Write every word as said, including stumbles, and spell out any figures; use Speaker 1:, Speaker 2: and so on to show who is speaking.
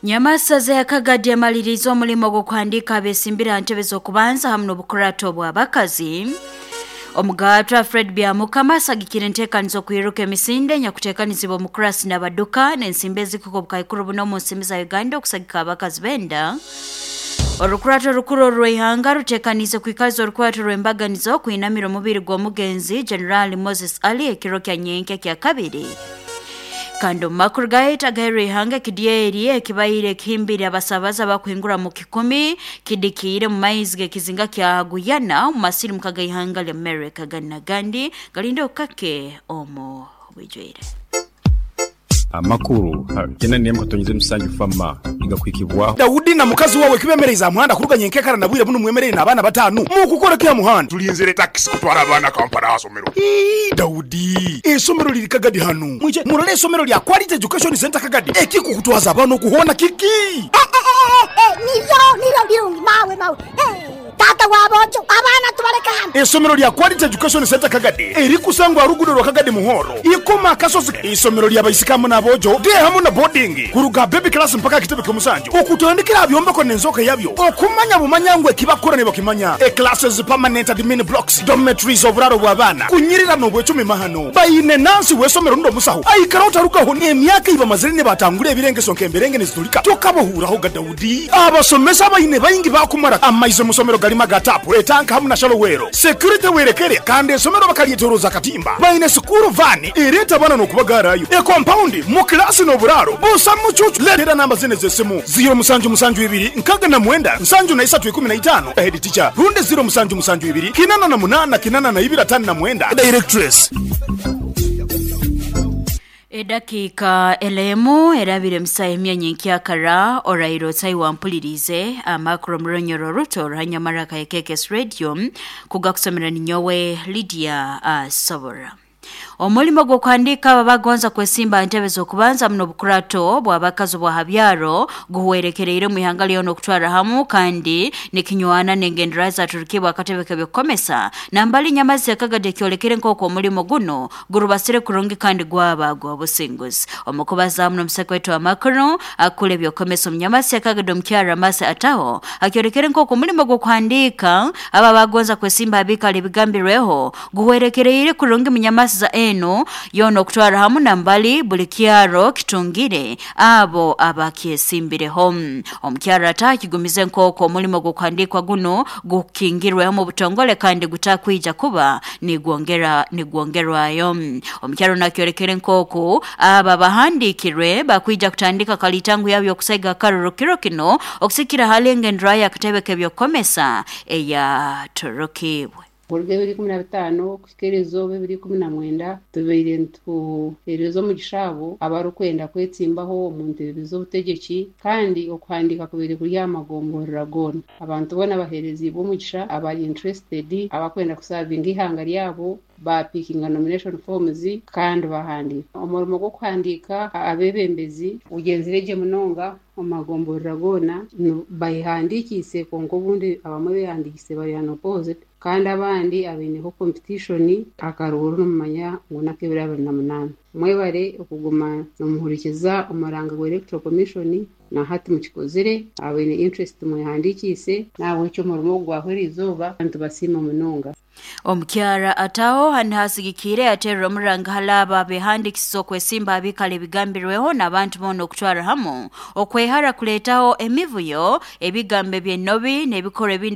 Speaker 1: Nyamasaza ya Kagadi yamaliriza omulimo gw'okuhandiika abesimbira ntebe z'okubanza hamu n'obukurato bw'abakazi. Omugatwa Fred Byamukama asagikire enteekaniza okwiruka emisinde nyakuteekanizibwa omukurasi n'abaduka n'ensimbi ezikuka obukaikuru buno omu nsimbi za Uganda okusagika abakazi benda. Orukurato rukuru orw'ihanga ruteekaniize kwikaza orukurato rw'embaganizo kwinamira omubiri gw'omugenzi General Moses Ali ekiro kya nyenkya kya kabiri. Kandi omu makuru gaitu agaheerwa ihanga, ekidyeri ekibaire kihimbire abasabaza bakuhingura mu kikumi kidikiire mu maizi g'ekizinga kya Guyana omu masirimuka g'ihanga lya America. Gani nagandi galinde okukake omu bwijwire.
Speaker 2: Amakuru kena nemu katonyeze musanju fama igakwikibwaho.
Speaker 3: Daudi na mukazi wawe kibemereza muhanda kuruganya enkekara na bwire buno mwemerere n'abaana batanu mukukora kya muhanda.
Speaker 4: Tulinzire taxi kutwara abaana Kampala asomero.
Speaker 3: Ii, Daudi, esomero liri Kagadi hanu mwije murole esomero lya Quality Education Center Kagadi ekikukutwaza abaana okuhona kiki.
Speaker 5: Eh, eh, eh, eh, niryo niryo birungi mawe mawe. Eh, tata wabojo abaana tubaleka hano.
Speaker 3: Esomero lya Quality Education Center Kagadi erikusangwa rugudo rwa Kagadi Muhoro ikoma akasozi. Isomero lya baisikamu n'abojo de hamu na boarding kuruga baby class mpaka kitebe ky'omusanju okutandikira byombeko n'enzoka yabyo okumanya bumanya ngwe kibakora ne bakimanya. E classes, permanent admin blocks, dormitories, oburaro bw'abaana kunyirira n'obwecumi mahano bayine nansi w'esomero ndo musaho aikara otarukaho emyaka iba mazire ne batangura ebirengeso nk'emberenge nezitulika tokabohuraho ga Daudi. Abasomesa bayine bayingi bakumara amaizo musomero galima gatapu etanka hamu na shalowero security werekere kandi esomero bakalyetoroza katimba bayine sukuru vani ereta bana n'okubagarayo e compound mu klasi n'oburaro busa mucucu. Letera namba zine z'essimu zero musanju musanju ibiri nkaga na mwenda nsanju na isatu ikumi na itano head teacher runde zero musanju musanju ibiri kinana na munana kinana na ibiri atano na mwenda directress.
Speaker 1: Edakika elemu erabire msa emyanya nkyakara orairo tai wampulirize amakuru muronyoro ruto ruhanyamara ka K K S Radio kugakusomera ninyowe Lydia uh, Sobora. Omulimo gw'okuhandiika aba bagonza kwesimba ntebe z'okubanza muno bukurato bw'abakazi bwa habyaro guhwerekereire mu ihanga lyona okutwara hamu kandi nikinywana n'engendera zaturukibwa akatebe k'ebyokukomesa nambali nyamazi yakagadi ekyolekere nk'oku omulimo guno gurubasire kurungi kandi gwaba gw'obusinguzi. Omukubaza muno omuseko wetu amakuru akula ebyokukomesa omunyamasi yakagadi omukyara Masi Ataho akyolekere nk'oku omulimo gw'okuhandiika aba bagonza kwesimba abikala ebigambirweho guhwerekereire kurungi munyamasi za eno yona okutwara hamu nambali buli kyaro kitungire abo abakyesimbireho. Omukyara atakigumize nk'oku omulimo gw'okuhandiikwa guno gukingirweho mu butongole kandi gutakwija kuba nigwongera nigwongerwayo. Omukyaro nakyolekere nk'oku aba bahandiikirwe bakwija kutandika kalitangu yabyo okusaiga akaruru kiro kino okusikira hali engendera y'akatebe k'ebyokukomesa eya turukibwe.
Speaker 6: Kuruga ebiri ikumi na bitaano kuhika erizooba ebiri ikumi na mwenda tubaire nituheereza omugisha abo abarikwenda kwetsimbaho omu ntebe z'obutegyeki kandi okuhandiika kubaire kuri aha magomborora goona. Abantu boona baheereziibwe omugisha abari interested abakwenda kusavinga ihanga ryabo bapikinga nomination forms kandi bahandiika. Omurimo gw'okuhandiika abeebembezi gugyenzire gye munonga omu magomborora goona. Bayehandiikiise kwonka obundi abamwe beehandiikiise bari unopposed kandi abandi abaineho competition akaruuru nomumanya ngu n'ak'ebiro abiri na munaana. Mwebare okuguma nomuhurikiza omuranga gwa Electoral Commission na hati mukikozire abaine interest mwehandiikiise nahabwekyo omurimo ogu gwahwera izooba nitubasiima munonga.
Speaker 1: Omukyara Ataho hani hasigikire aterera omuranga halaba behandikisiza okwesimba abikala ebigambirweho n'abantu boona okutwara hamu okwehara kuleetaho emivuyo, ebigambo eby'ennobi n'ebikorwa ebindi.